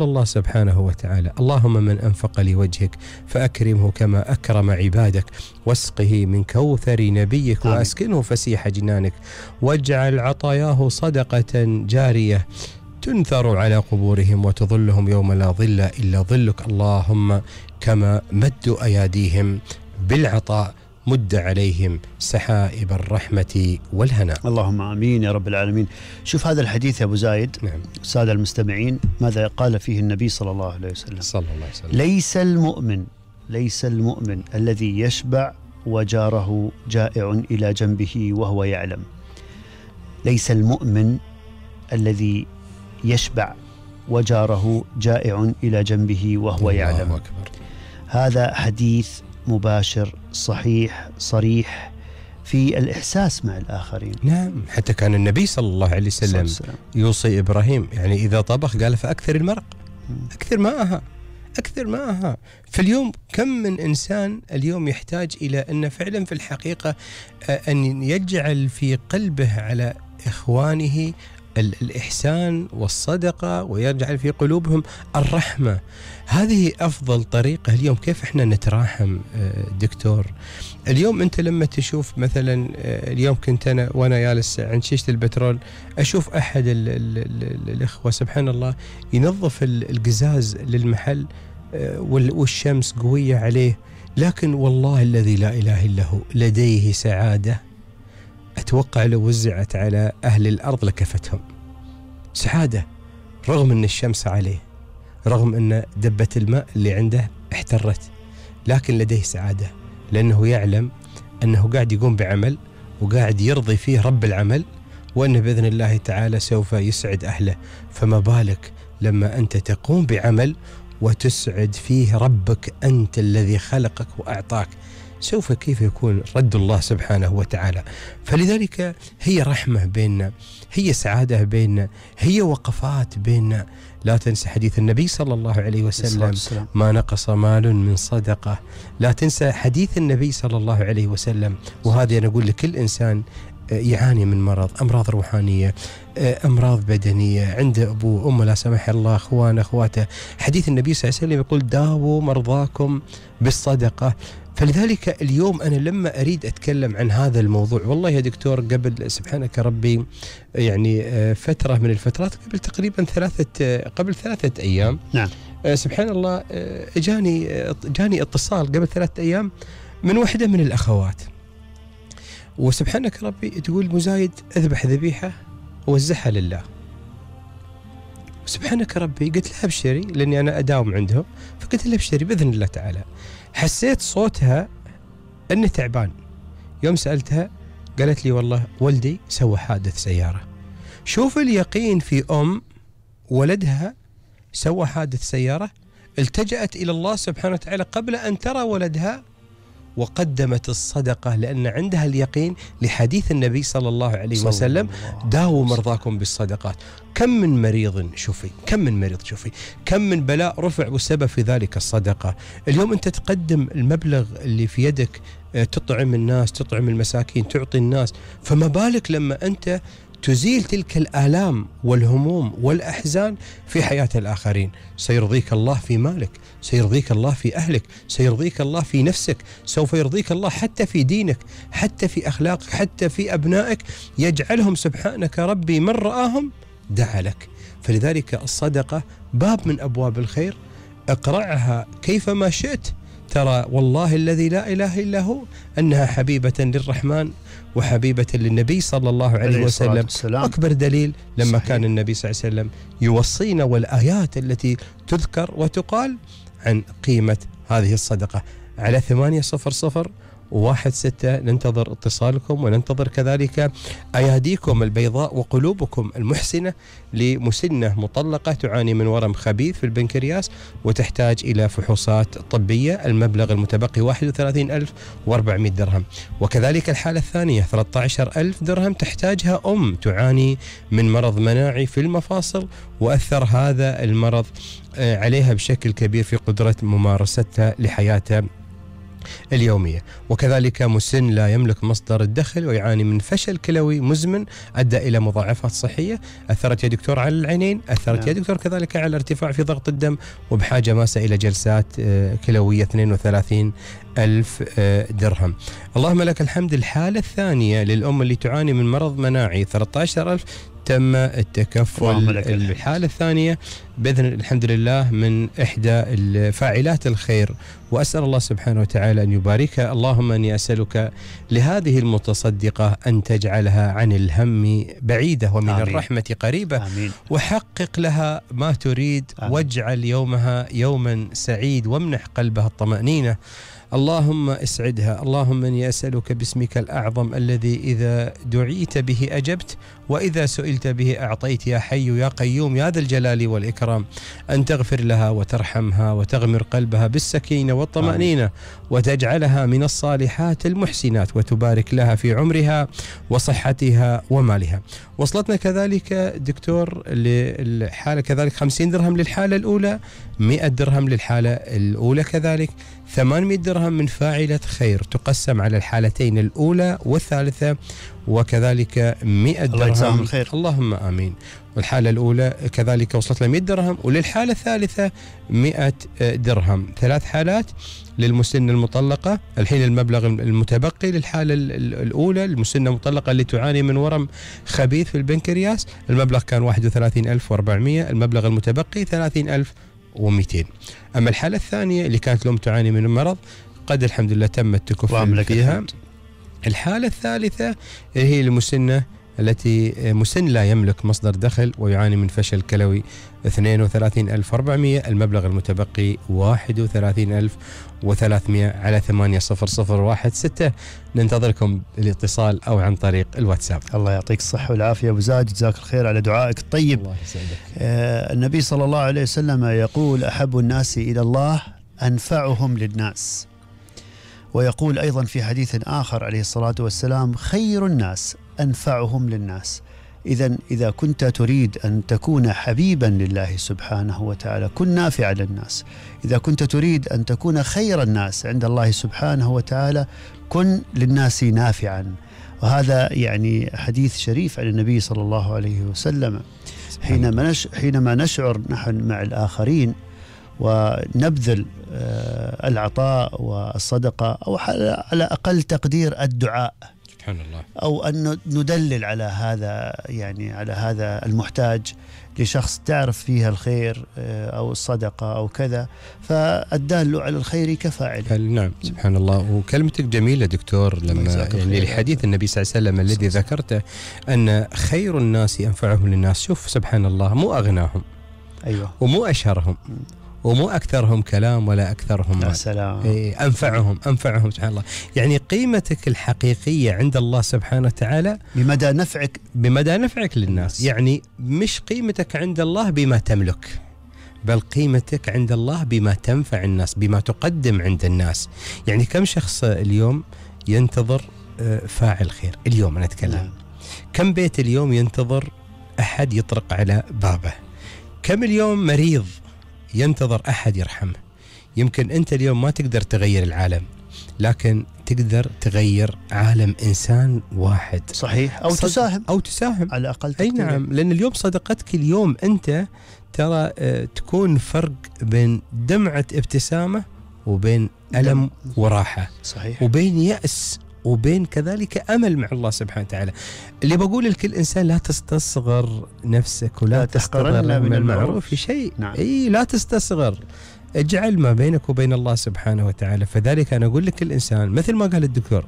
الله سبحانه وتعالى: اللهم من أنفق لوجهك فأكرمه كما أكرم عبادك، واسقه من كوثر نبيك، وأسكنه فسيح جنانك، واجعل عطاياه صدقة جارية تنثر على قبورهم وتظلهم يوم لا ظل إلا ظلك. اللهم كما مدوا أياديهم بالعطاء مد عليهم سحائب الرحمة والهناء. اللهم آمين يا رب العالمين. شوف هذا الحديث يا أبو زايد. نعم. السادة المستمعين، ماذا قال فيه النبي صلى الله عليه وسلم؟ صلى الله عليه وسلم: ليس المؤمن الذي يشبع وجاره جائع إلى جنبه وهو يعلم. ليس المؤمن الذي يشبع وجاره جائع إلى جنبه وهو يعلم. الله أكبر. هذا حديث مباشر صحيح صريح في الإحساس مع الآخرين. نعم، حتى كان النبي صلى الله عليه وسلم يوصي إبراهيم، يعني إذا طبخ قال فأكثر المرق، أكثر ماءها. فاليوم كم من إنسان اليوم يحتاج إلى أن فعلا في الحقيقة أن يجعل في قلبه على إخوانه الإحسان والصدقة، ويجعل في قلوبهم الرحمة. هذه أفضل طريقة اليوم. كيف إحنا نتراحم دكتور؟ اليوم أنت لما تشوف مثلا، اليوم كنت أنا وأنا جالس عند شيشة البترول أشوف أحد الإخوة سبحان الله ينظف القزاز للمحل والشمس قوية عليه، لكن والله الذي لا إله إلا هو لديه سعادة أتوقع لو وزعت على أهل الأرض لكفتهم. سعادة رغم أن الشمس عليه، رغم أن دبة الماء اللي عنده احترت، لكن لديه سعادة، لأنه يعلم أنه قاعد يقوم بعمل وقاعد يرضي فيه رب العمل، وأنه بإذن الله تعالى سوف يسعد أهله. فما بالك لما أنت تقوم بعمل وتسعد فيه ربك أنت الذي خلقك وأعطاك، سوف كيف يكون رد الله سبحانه وتعالى. فلذلك هي رحمة بيننا، هي سعادة بيننا، هي وقفات بيننا. لا تنسى حديث النبي صلى الله عليه وسلم: ما نقص مال من صدقة. لا تنسى حديث النبي صلى الله عليه وسلم. وهذا أنا أقول لكل إنسان يعاني من مرض، أمراض روحانية، أمراض بدنية، عند أبوه وأمه لا سمح الله، أخوانه أخواته، حديث النبي صلى الله عليه وسلم يقول: داووا مرضاكم بالصدقة. فلذلك اليوم أنا لما أريد أتكلم عن هذا الموضوع، والله يا دكتور قبل سبحانك ربي يعني فترة من الفترات، قبل تقريبا قبل 3 أيام، نعم، سبحان الله جاني اتصال قبل 3 أيام من واحدة من الأخوات، وسبحانك ربي تقول: مزايد أذبح ذبيحة ووزعها لله. سبحانك ربي قلت لها ابشري، لأني أنا أداوم عندهم، فقلت لها ابشري بإذن الله تعالى. حسيت صوتها أنه تعبان. يوم سألتها قالت لي: والله ولدي سوى حادث سيارة. شوف اليقين في أم ولدها سوى حادث سيارة، التجأت إلى الله سبحانه وتعالى قبل أن ترى ولدها، وقدمت الصدقة لأن عندها اليقين لحديث النبي صلى الله عليه وسلم: داووا مرضاكم بالصدقات. كم من مريض شوفي، كم من بلاء رفع والسبب في ذلك الصدقة. اليوم أنت تقدم المبلغ اللي في يدك، تطعم الناس، تطعم المساكين، تعطي الناس، فما بالك لما أنت تزيل تلك الآلام والهموم والأحزان في حياة الآخرين. سيرضيك الله في مالك، سيرضيك الله في أهلك، سيرضيك الله في نفسك، سوف يرضيك الله حتى في دينك، حتى في أخلاقك، حتى في أبنائك، يجعلهم سبحانك ربي من رآهم دعا لك. فلذلك الصدقة باب من أبواب الخير، اقرعها كيفما شئت، ترى والله الذي لا إله إلا هو أنها حبيبة للرحمن وحبيبة للنبي صلى الله عليه وسلم. أكبر دليل لما صحيح. كان النبي صلى الله عليه وسلم يوصينا، والآيات التي تذكر وتقال عن قيمة هذه الصدقة. على 800-16 ننتظر اتصالكم، وننتظر كذلك أياديكم البيضاء وقلوبكم المحسنة لمسنة مطلقة تعاني من ورم خبيث في البنكرياس وتحتاج إلى فحوصات طبية. المبلغ المتبقي 31,400 درهم. وكذلك الحالة الثانية 13,000 درهم تحتاجها أم تعاني من مرض مناعي في المفاصل، وأثر هذا المرض عليها بشكل كبير في قدرة ممارستها لحياتها اليومية. وكذلك مسن لا يملك مصدر الدخل ويعاني من فشل كلوي مزمن أدى إلى مضاعفات صحية، أثرت يا دكتور على العينين، أثرت يا دكتور كذلك على ارتفاع في ضغط الدم، وبحاجة ماسة إلى جلسات كلوية 32,000 درهم. اللهم لك الحمد. الحالة الثانية للأم اللي تعاني من مرض مناعي 13,000 تم التكفل. الحالة الثانية بإذن الحمد لله من إحدى فاعلات الخير، وأسأل الله سبحانه وتعالى أن يباركها. اللهم أني أسألك لهذه المتصدقة أن تجعلها عن الهم بعيدة ومن آمين. الرحمة قريبة آمين. وحقق لها ما تريد آمين. واجعل يومها يوما سعيد وامنح قلبها الطمأنينة. اللهم اسعدها. اللهم اني اسالك باسمك الاعظم الذي اذا دعيت به اجبت واذا سئلت به اعطيت يا حي يا قيوم يا ذا الجلال والاكرام ان تغفر لها وترحمها وتغمر قلبها بالسكينه والطمانينه وتجعلها من الصالحات المحسنات وتبارك لها في عمرها وصحتها ومالها. وصلتنا كذلك دكتور للحاله كذلك 50 درهم للحاله الاولى، 100 درهم للحاله الاولى كذلك، 800 درهم من فاعلة خير تقسم على الحالتين الأولى والثالثة، وكذلك 100 درهم. اللهم آمين. والحالة الأولى كذلك وصلت له 100 درهم، وللحالة الثالثة 100 درهم. 3 حالات للمسنة المطلقة. الحين المبلغ المتبقي للحالة الأولى المسنة المطلقة اللي تعاني من ورم خبيث في البنكرياس، المبلغ كان 31,400، المبلغ المتبقي 30,200. أما الحالة الثانية اللي كانت الأم تعاني من المرض قد الحمد لله تم التكفل فيها. الحالة الثالثة هي المسنة التي مسن لا يملك مصدر دخل ويعاني من فشل كلوي 32,400، المبلغ المتبقي 31,300 على 800016. ننتظركم الاتصال أو عن طريق الواتساب. الله يعطيك الصحة والعافية أبو زاهد، جزاك الخير على دعائك الطيب. الله يسعدك. النبي صلى الله عليه وسلم يقول أحب الناس إلى الله أنفعهم للناس، ويقول أيضا في حديث آخر عليه الصلاة والسلام خير الناس أنفعهم للناس. إذا كنت تريد أن تكون حبيبا لله سبحانه وتعالى كن نافعا للناس. إذا كنت تريد أن تكون خير الناس عند الله سبحانه وتعالى كن للناس نافعا. وهذا يعني حديث شريف عن النبي صلى الله عليه وسلم. حينما نشعر نحن مع الآخرين ونبذل العطاء والصدقة أو على أقل تقدير الدعاء، سبحان الله، أو أن ندلل على هذا يعني على هذا المحتاج لشخص تعرف فيها الخير أو الصدقة أو كذا، فالدال على الخير كفاعله. نعم سبحان الله. وكلمتك جميلة دكتور لما يعني لحديث النبي صلى الله عليه وسلم الذي ذكرته أن خير الناس أنفعهم للناس. شوف سبحان الله، مو أغناهم أيوة ومو أشهرهم ومو أكثرهم كلام ولا أكثرهم مال. سلام. أنفعهم سبحان الله. يعني قيمتك الحقيقية عند الله سبحانه وتعالى بمدى نفعك للناس. يعني مش قيمتك عند الله بما تملك، بل قيمتك عند الله بما تنفع الناس، بما تقدم عند الناس. يعني كم شخص اليوم ينتظر فاعل خير؟ اليوم أنا أتكلم كم بيت اليوم ينتظر أحد يطرق على بابه؟ كم اليوم مريض ينتظر أحد يرحمه؟ يمكن أنت اليوم ما تقدر تغير العالم، لكن تقدر تغير عالم إنسان واحد. صحيح. أو تساهم على الأقل. أي نعم، لأن اليوم صدقتك اليوم أنت ترى تكون فرق بين دمعة ابتسامة وبين ألم وراحة. صحيح. وبين يأس وبين كذلك أمل مع الله سبحانه وتعالى. اللي بقول لكل إنسان لا تستصغر نفسك ولا تحقرن من المعروف شيء. نعم. لا تستصغر، اجعل ما بينك وبين الله سبحانه وتعالى. فذلك أنا أقول لك الإنسان مثل ما قال الدكتور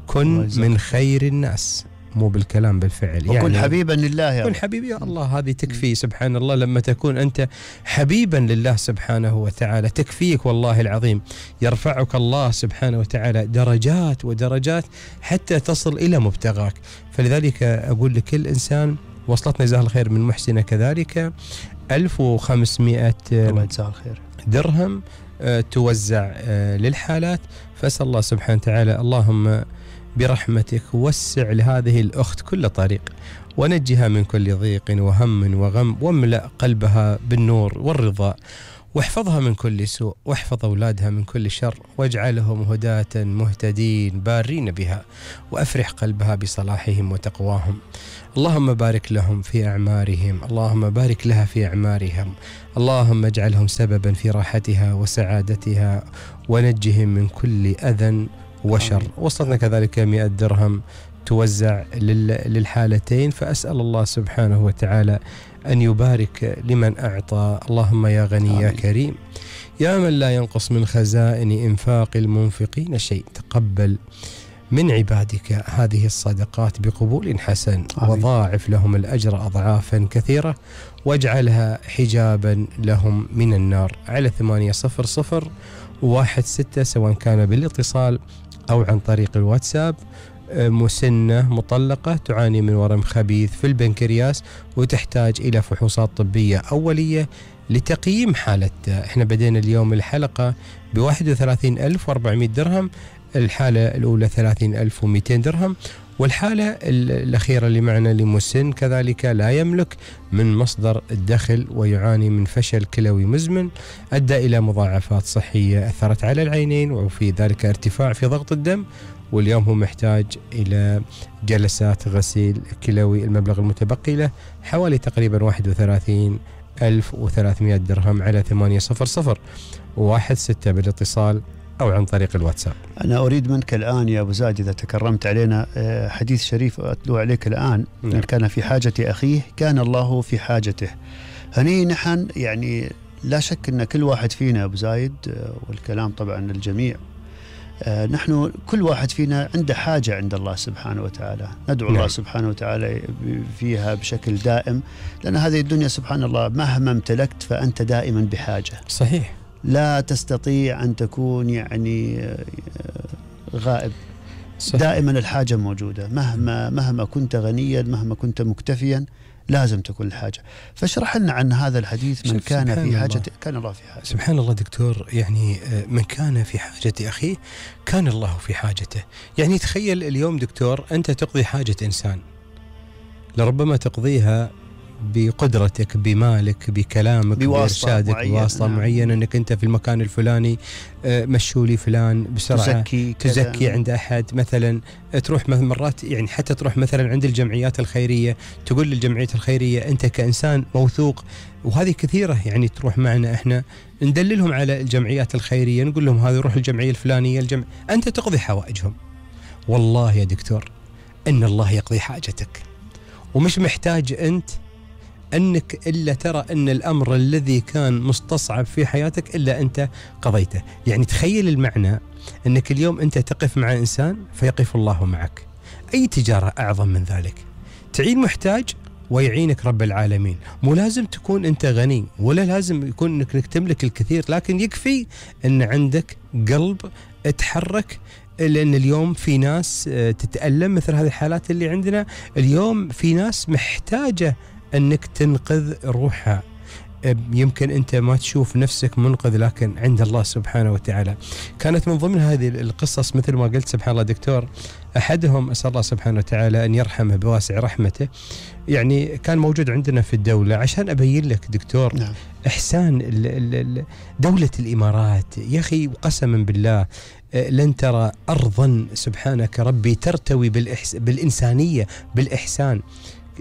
كن من خير الناس، مو بالكلام بالفعل. وكن يعني حبيبا لله. كن حبيبي يا الله، هذه تكفي. سبحان الله، لما تكون أنت حبيبا لله سبحانه وتعالى تكفيك والله العظيم. يرفعك الله سبحانه وتعالى درجات ودرجات حتى تصل إلى مبتغاك. فلذلك أقول لكل إنسان وصلتنا جزاه الخير من محسنة كذلك 1500 درهم توزع للحالات. فأسأل الله سبحانه وتعالى اللهم برحمتك وسع لهذه الأخت كل طريق ونجها من كل ضيق وهم وغم، واملأ قلبها بالنور والرضا واحفظها من كل سوء، واحفظ أولادها من كل شر، واجعلهم هداة مهتدين بارين بها، وأفرح قلبها بصلاحهم وتقواهم. اللهم بارك لهم في أعمارهم، اللهم بارك لها في أعمارهم، اللهم اجعلهم سببا في راحتها وسعادتها، ونجهم من كل أذى وشر. وصلنا كذلك 100 درهم توزع للحالتين، فأسأل الله سبحانه وتعالى أن يبارك لمن أعطى. اللهم يا غني يا كريم يا من لا ينقص من خزائن إنفاق المنفقين شيء، تقبل من عبادك هذه الصدقات بقبول حسن، وضاعف لهم الأجر أضعافا كثيرة، واجعلها حجابا لهم من النار. على 80016 سواء كان بالاتصال أو عن طريق الواتساب. مسنة مطلقة تعاني من ورم خبيث في البنكرياس وتحتاج إلى فحوصات طبية أولية لتقييم حالتها. احنا بدينا اليوم الحلقة ب31,400 درهم، الحالة الأولى 30,200 درهم، والحالة الأخيرة اللي معنا لمسن كذلك لا يملك من مصدر الدخل ويعاني من فشل كلوي مزمن أدى إلى مضاعفات صحية أثرت على العينين، وفي ذلك ارتفاع في ضغط الدم، واليوم هو محتاج إلى جلسات غسيل كلوي. المبلغ المتبقي له حوالي تقريبا 31,300 درهم. على 80016 بالاتصال أو عن طريق الواتساب. أنا أريد منك الآن يا أبو زايد إذا تكرمت علينا حديث شريف أتلو عليك الآن. من كان في حاجة أخيه كان الله في حاجته. هني نحن يعني لا شك أن كل واحد فينا أبو زايد، والكلام طبعا الجميع، نحن كل واحد فينا عنده حاجة عند الله سبحانه وتعالى، ندعو الله سبحانه وتعالى فيها بشكل دائم، لأن هذه الدنيا سبحان الله مهما امتلكت فأنت دائما بحاجة. صحيح، لا تستطيع أن تكون يعني غائب. صحيح. دائما الحاجة موجودة، مهما كنت غنيا، مهما كنت مكتفيا، لازم تكون الحاجة. فاشرح لنا عن هذا الحديث. من كان في حاجة كان الله في حاجة. سبحان الله دكتور، يعني من كان في حاجة أخيه كان الله في حاجته. يعني تخيل اليوم دكتور أنت تقضي حاجة إنسان، لربما تقضيها بقدرتك، بمالك، بكلامك، بإرشادك، بواسطة معينة، أنك أنت في المكان الفلاني مشولي فلان بسرعة، تزكي عند أحد مثلا، تروح مرات يعني حتى تروح مثلا عند الجمعيات الخيرية، تقول للجمعيات الخيرية أنت كإنسان موثوق، وهذه كثيرة يعني تروح معنا إحنا ندللهم على الجمعيات الخيرية، نقول لهم هذه روح الجمعية الفلانية، أنت تقضي حوائجهم. والله يا دكتور إن الله يقضي حاجتك، ومش محتاج أنت أنك إلا ترى أن الأمر الذي كان مستصعب في حياتك إلا أنت قضيته. يعني تخيل المعنى أنك اليوم أنت تقف مع إنسان فيقف الله معك. أي تجارة أعظم من ذلك؟ تعين محتاج ويعينك رب العالمين. مو لازم تكون أنت غني، ولا لازم يكون أنك تملك الكثير، لكن يكفي أن عندك قلب تحرك. لأن اليوم في ناس تتألم مثل هذه الحالات اللي عندنا. اليوم في ناس محتاجة أنك تنقذ روحها. يمكن أنت ما تشوف نفسك منقذ، لكن عند الله سبحانه وتعالى. كانت من ضمن هذه القصص مثل ما قلت سبحان الله دكتور، أحدهم أسأل الله سبحانه وتعالى أن يرحمه بواسع رحمته، يعني كان موجود عندنا في الدولة. عشان أبين لك دكتور نعم. إحسان دولة الإمارات يا أخي، قسما بالله لن ترى أرضا سبحانك ربي ترتوي بالإنسانية بالإحسان.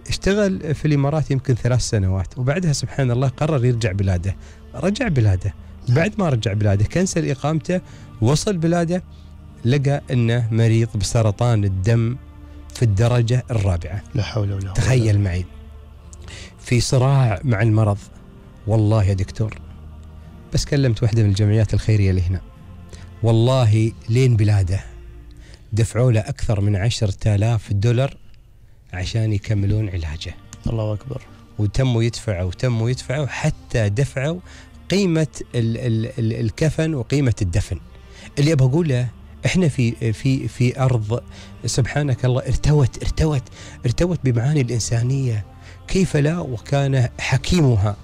اشتغل في الإمارات يمكن 3 سنوات، وبعدها سبحان الله قرر يرجع بلاده. رجع بلاده، بعد ما رجع بلاده كنسل إقامته، وصل بلاده لقى أنه مريض بسرطان الدم في الدرجة 4. لا حول ولا قوة. تخيل معي، في صراع مع المرض. والله يا دكتور بس كلمت واحدة من الجمعيات الخيرية اللي هنا، والله لين بلاده دفعوا له أكثر من 10,000 دولار عشان يكملون علاجه. الله أكبر. وتموا يدفعوا حتى دفعوا قيمة الكفن وقيمة الدفن. اللي أبغى أقوله إحنا في أرض سبحانك الله ارتوت بمعاني الإنسانية، كيف لا؟ وكان حكيمها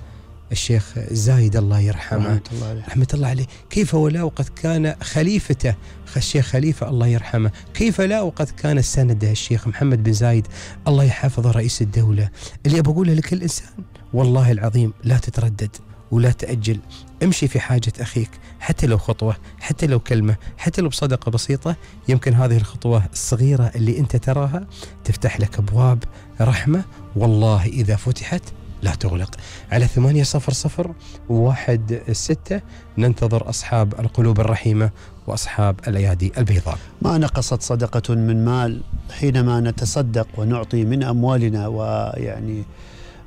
الشيخ زايد الله يرحمه رحمة الله عليه، كيف ولا وقد كان خليفته الشيخ خليفة الله يرحمه، كيف لا وقد كان سنده الشيخ محمد بن زايد الله يحفظه رئيس الدولة. اللي أبغى أقوله لكل إنسان والله العظيم لا تتردد، ولا تأجل. امشي في حاجة أخيك، حتى لو خطوة، حتى لو كلمة، حتى لو بصدقة بسيطة. يمكن هذه الخطوة الصغيرة اللي أنت تراها تفتح لك أبواب رحمة، والله إذا فتحت لا تغلق. على 800-16 ننتظر أصحاب القلوب الرحيمة وأصحاب الأيادي البيضاء. ما نقصت صدقة من مال حينما نتصدق ونعطي من أموالنا، ويعني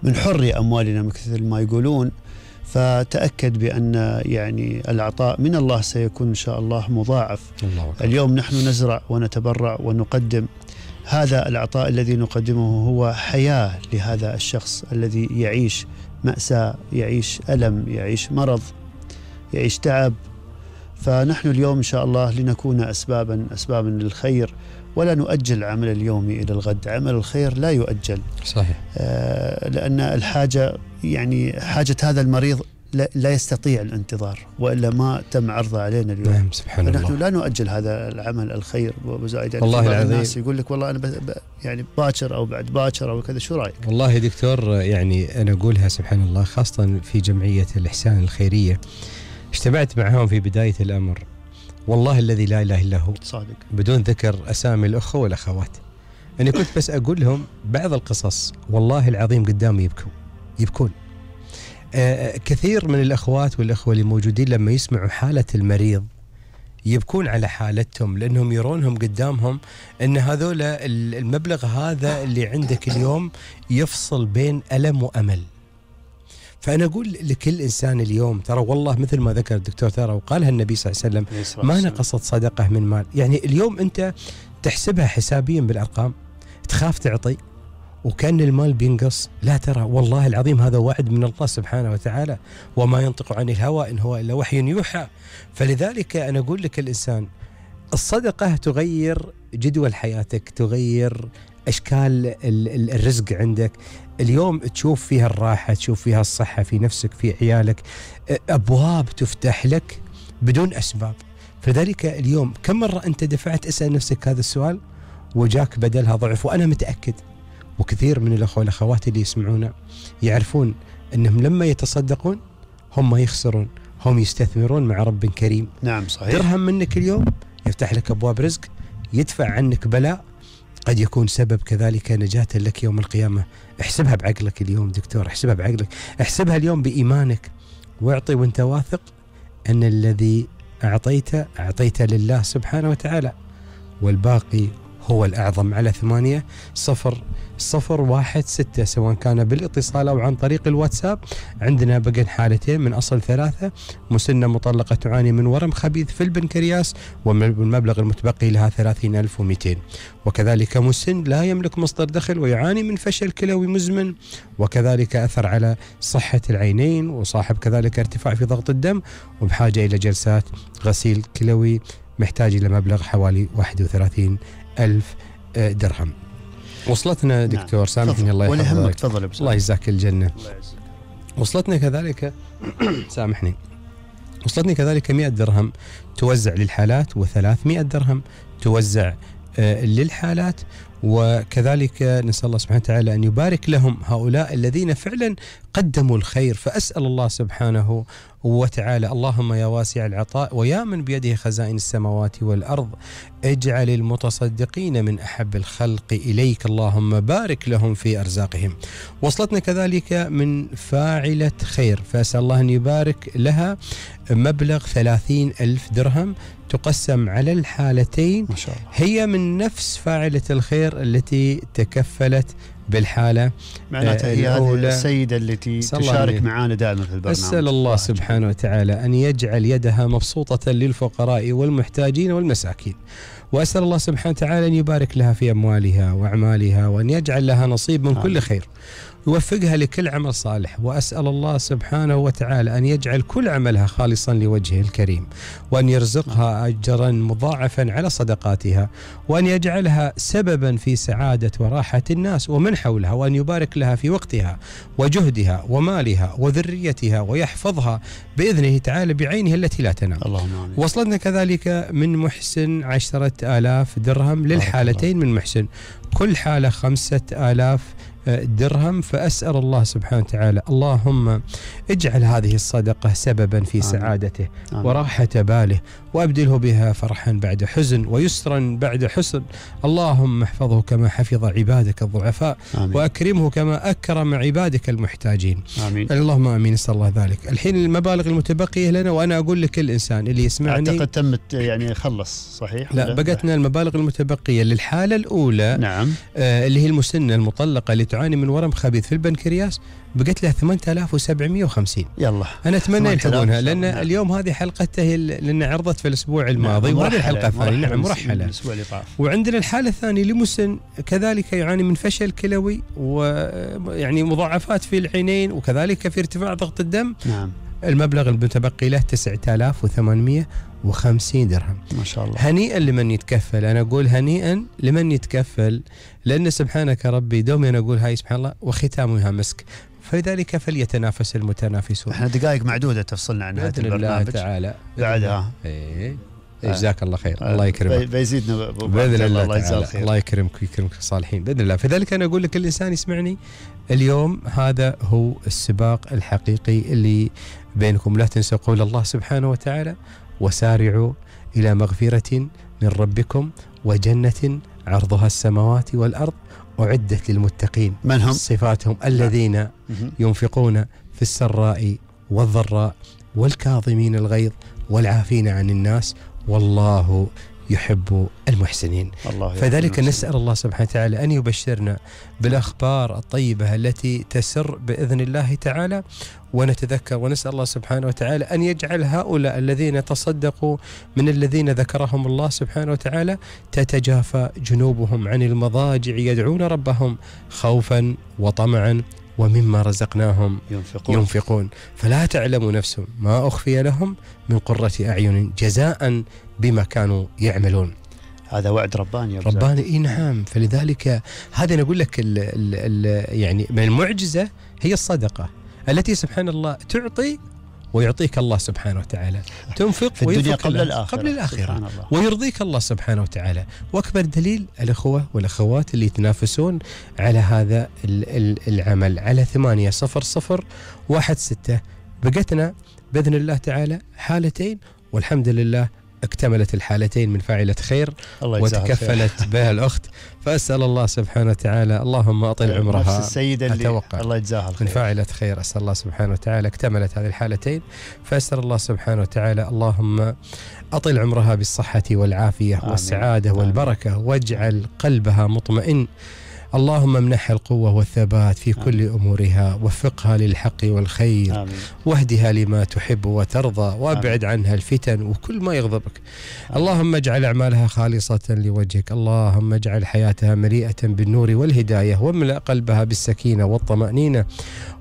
من حر أموالنا مثل ما يقولون. فتأكد بأن يعني العطاء من الله سيكون إن شاء الله مضاعف. اليوم نحن نزرع ونتبرع ونقدم. هذا العطاء الذي نقدمه هو حياة لهذا الشخص الذي يعيش مأساة، يعيش ألم، يعيش مرض، يعيش تعب. فنحن اليوم إن شاء الله لنكون أسبابا للخير، ولا نؤجل العمل اليومي إلى الغد. عمل الخير لا يؤجل. صحيح. لأن الحاجة يعني حاجة هذا المريض لا يستطيع الانتظار، وإلا ما تم عرضه علينا اليوم. نعم سبحان الله. فنحن لا نؤجل هذا العمل الخير وزائد. والله العظيم الناس يقول لك والله أنا يعني باكر أو بعد باكر أو كذا، شو رأيك؟ والله يا دكتور يعني أنا أقولها سبحان الله، خاصة في جمعية الإحسان الخيرية اجتمعت معهم في بداية الأمر، والله الذي لا إله إلا هو، صادق، بدون ذكر أسامي الأخوة والأخوات. أنا كنت بس أقول لهم بعض القصص والله العظيم قدامي يبكون. كثير من الأخوات والأخوة اللي موجودين لما يسمعوا حالة المريض يبكون على حالتهم، لأنهم يرونهم قدامهم أن هذول المبلغ هذا اللي عندك اليوم يفصل بين ألم وأمل. فأنا أقول لكل إنسان اليوم ترى والله مثل ما ذكر الدكتور ترى وقالها النبي صلى الله عليه وسلم، ما نقصت صدقة من مال. يعني اليوم أنت تحسبها حسابيا بالأرقام، تخاف تعطي وكأن المال بينقص. لا، ترى والله العظيم هذا وعد من الله سبحانه وتعالى، وما ينطق عن الهوى إن هو إلا وحي يوحى. فلذلك أنا أقول لك الإنسان الصدقة تغير جدول حياتك، تغير أشكال الرزق عندك. اليوم تشوف فيها الراحة، تشوف فيها الصحة في نفسك في عيالك، أبواب تفتح لك بدون أسباب. فلذلك اليوم كم مرة أنت دفعت أسأل نفسك هذا السؤال وجاك بدلها ضعف؟ وأنا متأكد وكثير من الأخوة والأخوات اللي يسمعونا يعرفون أنهم لما يتصدقون هم ما يخسرون، هم يستثمرون مع رب كريم. نعم صحيح. درهم منك اليوم يفتح لك أبواب رزق، يدفع عنك بلاء قد يكون سبب كذلك نجاة لك يوم القيامة. احسبها بعقلك اليوم دكتور، احسبها بعقلك، احسبها اليوم بإيمانك، واعطي وانت واثق أن الذي أعطيت لله سبحانه وتعالى، والباقي هو الأعظم. على 800-016 سواء كان بالاتصال أو عن طريق الواتساب. عندنا بقى حالتين من أصل 3، مسنة مطلقة تعاني من ورم خبيث في البنكرياس والمبلغ المتبقي لها 30,200، وكذلك مسن لا يملك مصدر دخل ويعاني من فشل كلوي مزمن، وكذلك أثر على صحة العينين، وصاحب كذلك ارتفاع في ضغط الدم وبحاجة إلى جلسات غسيل كلوي، محتاج إلى مبلغ حوالي 31,000 درهم. وصلتنا دكتور. نعم. سامحني الله يحفظك. تفضل. الله يجزاك الجنة. وصلتنا كذلك سامحني، وصلتني كذلك 100 درهم توزع للحالات، و300 درهم توزع للحالات. وكذلك نسأل الله سبحانه وتعالى أن يبارك لهم هؤلاء الذين فعلا قدموا الخير. فأسأل الله سبحانه وتعالى اللهم يا واسع العطاء ويا من بيده خزائن السماوات والأرض، اجعل المتصدقين من أحب الخلق إليك، اللهم بارك لهم في أرزاقهم. وصلتنا كذلك من فاعلة خير، فأسأل الله أن يبارك لها مبلغ 30,000 درهم تقسم على الحالتين. ما شاء الله. هي من نفس فاعلة الخير التي تكفلت بالحالة معناتها هي هذه السيدة التي تشارك معنا دائما في البرنامج. أسأل الله سبحانه وتعالى أن يجعل يدها مبسوطة للفقراء والمحتاجين والمساكين، وأسأل الله سبحانه وتعالى أن يبارك لها في أموالها وأعمالها، وأن يجعل لها نصيب من كل خير، يوفقها لكل عمل صالح. وأسأل الله سبحانه وتعالى أن يجعل كل عملها خالصا لوجهه الكريم، وأن يرزقها أجرا مضاعفا على صدقاتها، وأن يجعلها سببا في سعادة وراحة الناس ومن حولها، وأن يبارك لها في وقتها وجهدها ومالها وذريتها، ويحفظها بإذنه تعالى بعينه التي لا تنام. اللهم آمين. وصلتنا كذلك من محسن 10,000 درهم للحالتين من محسن، كل حالة 5,000 درهم. فأسأل الله سبحانه وتعالى اللهم اجعل هذه الصدقة سببا في سعادته وراحة باله، وأبدله بها فرحا بعد حزن ويسرا بعد حسن. اللهم احفظه كما حفظ عبادك الضعفاء، وأكرمه كما أكرم عبادك المحتاجين. آمين. اللهم آمين. نسأل الله ذلك. الحين المبالغ المتبقية لنا، وأنا أقول لكل إنسان اللي يسمعني، أعتقد تمت يعني خلص صحيح؟ لا، بقتنا المبالغ المتبقية للحالة الأولى. نعم. اللي هي المسنة المطلقة اللي تعاني من ورم خبيث في البنكرياس، بقت لها 8750. يلا أنا أتمنى يلحقونها، لأن اليوم هذه حلقته لأن عرضت في الأسبوع الماضي، وهذه الحلقة الثانية. نعم، مرحلة. وعندنا الحالة الثانية لمسن كذلك يعاني من فشل كلوي، ويعني مضاعفات في العينين، وكذلك في ارتفاع ضغط الدم. نعم. المبلغ المتبقي له 9850 درهم. ما شاء الله. هنيئا لمن يتكفل. أنا أقول هنيئا لمن يتكفل، لأن سبحانك ربي دومي أنا أقول هاي سبحان الله وختامها مسك، فلذلك فليتنافس المتنافسون. احنا دقائق معدودة تفصلنا عن هذا البرنامج الله تعالى بعدها. جزاك الله خير. الله يكرمك. بيزيدنا بإذن الله تعالى. الله يكرمك ويكرمك الصالحين بإذن الله. فذلك أنا أقول لك الإنسان يسمعني اليوم، هذا هو السباق الحقيقي اللي بينكم. لا تنسوا قول الله سبحانه وتعالى: وسارعوا إلى مغفرة من ربكم وجنة عرضها السماوات والأرض أعدت للمتقين. من هم؟ صفاتهم: الذين ينفقون في السراء والضراء والكاظمين الغيظ والعافين عن الناس والله يحب المحسنين. فذلك نسأل الله سبحانه وتعالى أن يبشرنا بالأخبار الطيبة التي تسر بإذن الله تعالى، ونتذكر ونسأل الله سبحانه وتعالى أن يجعل هؤلاء الذين تصدقوا من الذين ذكرهم الله سبحانه وتعالى تتجافى جنوبهم عن المضاجع يدعون ربهم خوفا وطمعا ومما رزقناهم ينفقون. فلا تعلم نفس ما أخفي لهم من قرة أعين جزاء بما كانوا يعملون. هذا وعد رباني. رباني، نعم. فلذلك هذا نقول لك يعني من المعجزة هي الصدقة التي سبحان الله تعطي ويعطيك الله سبحانه وتعالى، تنفق في الدنيا قبل الآخرة ويرضيك الله سبحانه وتعالى. وأكبر دليل الأخوة والأخوات اللي يتنافسون على هذا العمل على 80016 بقتنا بإذن الله تعالى حالتين، والحمد لله اكتملت الحالتين من فاعلة خير وتكفلت بها الأخت. فأسأل الله سبحانه وتعالى اللهم أطل عمرها. نفس السيدة اللي الله يجزاها الخير من فاعلة خير. أسأل الله سبحانه وتعالى اكتملت هذه الحالتين، فأسأل الله سبحانه وتعالى اللهم أطل عمرها بالصحة والعافية والسعادة والبركة، واجعل قلبها مطمئن. اللهم امنحها القوة والثبات في كل أمورها، وفقها للحق والخير، واهدها لما تحب وترضى، وابعد عنها الفتن وكل ما يغضبك. اللهم اجعل أعمالها خالصة لوجهك. اللهم اجعل حياتها مليئة بالنور والهداية، واملأ قلبها بالسكينة والطمأنينة،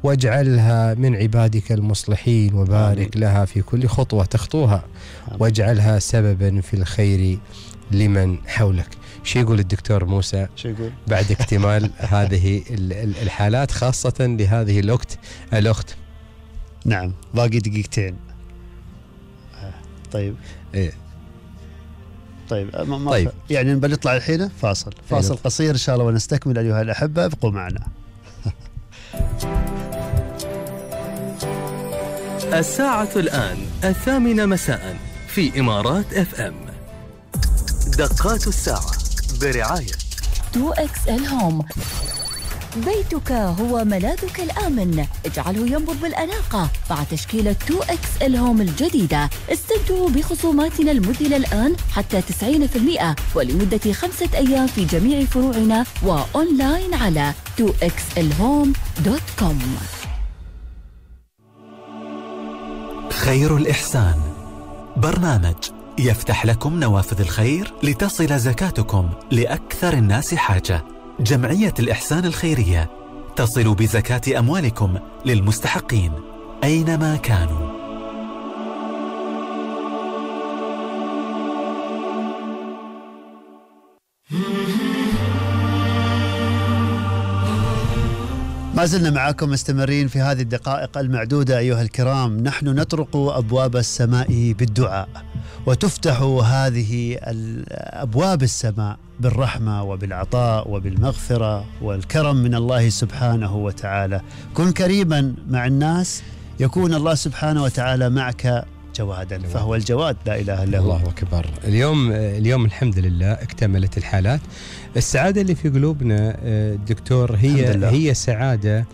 واجعلها من عبادك المصلحين، وبارك لها في كل خطوة تخطوها، واجعلها سببا في الخير لمن حولك. شو يقول الدكتور موسى بعد اكتمال هذه الحالات، خاصة لهذه الأخت؟ نعم، باقي دقيقتين. طيب طيب يعني بنطلع الحين فاصل قصير إن شاء الله ونستكمل. أيها الأحبة ابقوا معنا. الساعة الآن 8 مساء في إمارات FM. دقات الساعة برعاية 2XL هوم. بيتك هو ملاذك الآمن، اجعله ينبض بالأناقة مع تشكيلة 2XL هوم الجديدة. استمتعوا بخصوماتنا المذهلة الآن حتى 90% ولمدة 5 أيام في جميع فروعنا وأونلاين على 2xlhome.com. خير الإحسان برنامج يفتح لكم نوافذ الخير لتصل زكاتكم لأكثر الناس حاجة. جمعية الإحسان الخيرية تصل بزكاة أموالكم للمستحقين أينما كانوا. ما زلنا معكم مستمرين في هذه الدقائق المعدودة أيها الكرام. نحن نطرق أبواب السماء بالدعاء، وتفتح هذه أبواب السماء بالرحمة وبالعطاء وبالمغفرة والكرم من الله سبحانه وتعالى. كن كريما مع الناس يكون الله سبحانه وتعالى معك جوادا، فهو الجواد لا إله إلا هو. الله أكبر. اليوم الحمد لله اكتملت الحالات. السعادة اللي في قلوبنا دكتور هي سعادة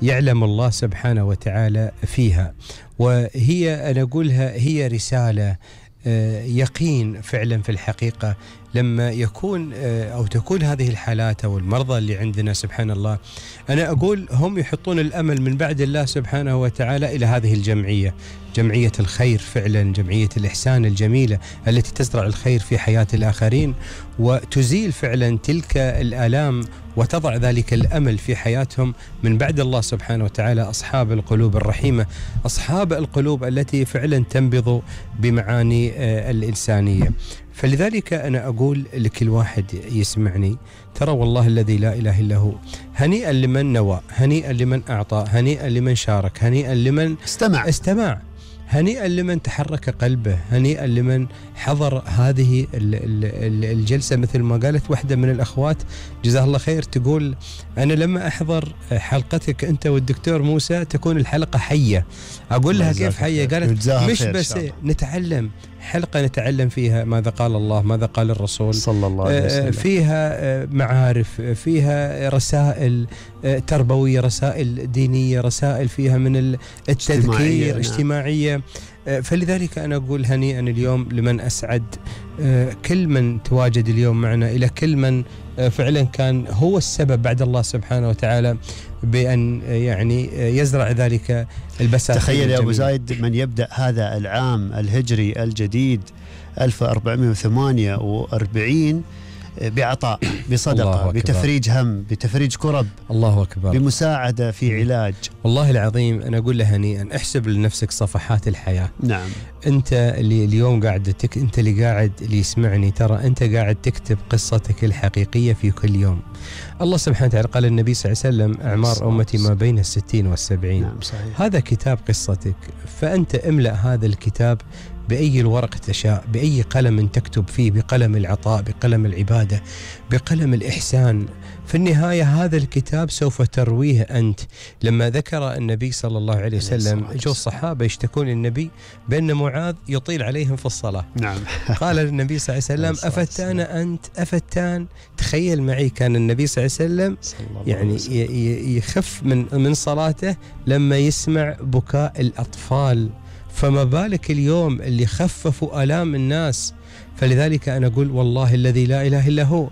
يعلم الله سبحانه وتعالى فيها، وهي أنا أقولها هي رسالة يقين فعلا في الحقيقة. لما يكون أو تكون هذه الحالات أو المرضى اللي عندنا سبحان الله، أنا أقول هم يحطون الأمل من بعد الله سبحانه وتعالى إلى هذه الجمعية، جمعية الخير فعلا، جمعية الإحسان الجميلة التي تزرع الخير في حياة الآخرين وتزيل فعلا تلك الآلام وتضع ذلك الأمل في حياتهم من بعد الله سبحانه وتعالى. أصحاب القلوب الرحيمة، أصحاب القلوب التي فعلا تنبض بمعاني الإنسانية. فلذلك أنا أقول لكل واحد يسمعني، ترى والله الذي لا إله إلا هو، هنيئا لمن نوى، هنيئا لمن أعطى، هنيئا لمن شارك، هنيئا لمن استمع، هنيئا لمن تحرك قلبه، هنيئا لمن حضر هذه الجلسة. مثل ما قالت واحدة من الأخوات جزاها الله خير، تقول أنا لما أحضر حلقتك أنت والدكتور موسى تكون الحلقة حية. أقول لها كيف حية؟ قالت مش بس نتعلم، حلقة نتعلم فيها ماذا قال الله، ماذا قال الرسول صلى الله عليه وسلم، فيها معارف، فيها رسائل تربوية، رسائل دينية، رسائل فيها من التذكير اجتماعية. فلذلك أنا أقول هنيئا اليوم لمن أسعد كل من تواجد اليوم معنا، إلى كل من فعلا كان هو السبب بعد الله سبحانه وتعالى بأن يعني يزرع ذلك البساتين. تخيل يا أبو زايد من يبدأ هذا العام الهجري الجديد 1448 بعطاء، بصدقة، بتفريج هم، بتفريج كرب، الله أكبر، بمساعدة في علاج. والله العظيم أنا أقول له هنيئا. احسب لنفسك صفحات الحياة. نعم. أنت اللي اليوم قاعد أنت اللي يسمعني، ترى أنت قاعد تكتب قصتك الحقيقية في كل يوم. الله سبحانه وتعالى قال النبي صلى الله عليه وسلم أعمار أمتي ما بين 60 و70. نعم صحيح. هذا كتاب قصتك، فأنت املأ هذا الكتاب بأي الورق تشاء، بأي قلم تكتب فيه، بقلم العطاء، بقلم العبادة، بقلم الإحسان. في النهاية هذا الكتاب سوف ترويه أنت. لما ذكر النبي صلى الله عليه وسلم، جو الصحابة يشتكون للنبي بأن معاذ يطيل عليهم في الصلاة. نعم. قال النبي صلى الله عليه وسلم أفتان أنت أفتان. تخيل معي، كان النبي صلى الله عليه وسلم يعني يخف من صلاته لما يسمع بكاء الأطفال، فما بالك اليوم اللي خففوا آلام الناس. فلذلك أنا أقول والله الذي لا إله إلا هو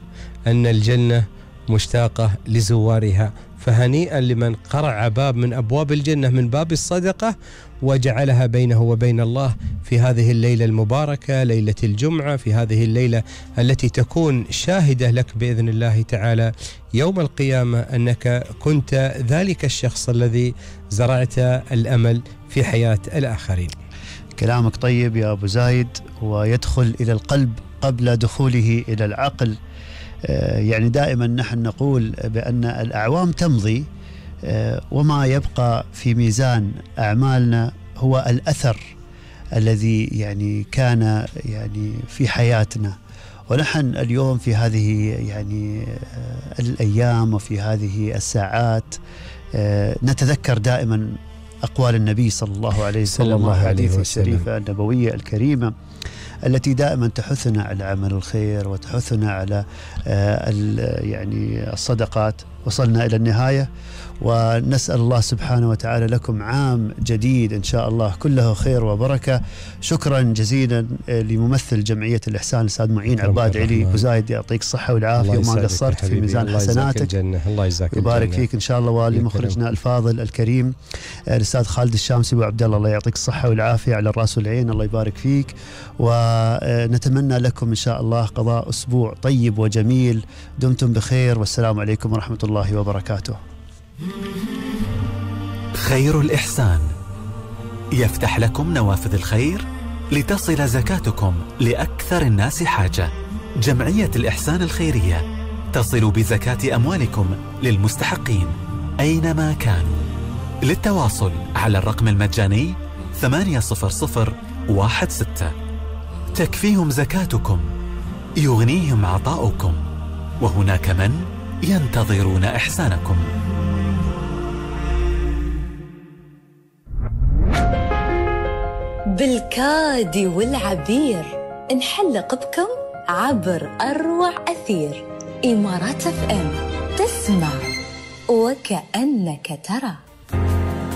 أن الجنة مشتاقة لزوارها. فهنيئا لمن قرع باب من أبواب الجنة من باب الصدقة وجعلها بينه وبين الله في هذه الليلة المباركة، ليلة الجمعة، في هذه الليلة التي تكون شاهدة لك بإذن الله تعالى يوم القيامة أنك كنت ذلك الشخص الذي زرعت الأمل في حياة الآخرين. كلامك طيب يا أبو زايد، ويدخل إلى القلب قبل دخوله إلى العقل. يعني دائما نحن نقول بأن الأعوام تمضي وما يبقى في ميزان أعمالنا هو الأثر الذي يعني كان يعني في حياتنا. ونحن اليوم في هذه يعني الأيام وفي هذه الساعات نتذكر دائما أقوال النبي صل الله عليه وسلم وحديث الشريفة النبوية الكريمة التي دائما تحثنا على عمل الخير وتحثنا على يعني الصدقات. وصلنا إلى النهاية، ونسأل الله سبحانه وتعالى لكم عام جديد إن شاء الله كله خير وبركة. شكرا جزيلا لممثل جمعية الإحسان الأستاذ معين عباد علي. أبو زايد يعطيك الصحة والعافية وما قصرت في ميزان حسناتك. الله يجزاك يبارك فيك إن شاء الله. ولمخرجنا الفاضل الكريم الأستاذ خالد الشامسي وعبد الله يعطيك الصحة والعافية على الرأس والعين. الله يبارك فيك، ونتمنى لكم إن شاء الله قضاء أسبوع طيب وجميل. دمتم بخير، والسلام عليكم ورحمة الله وبركاته. خير الإحسان يفتح لكم نوافذ الخير لتصل زكاتكم لأكثر الناس حاجة. جمعية الإحسان الخيرية تصل بزكاة أموالكم للمستحقين. أينما كانوا. للتواصل على الرقم المجاني 80016. تكفيهم زكاتكم، يغنيهم عطاؤكم، وهناك من ينتظرون إحسانكم. بالكاد والعبير نحلق بكم عبر أروع أثير. إمارات FM، تسمع وكأنك ترى.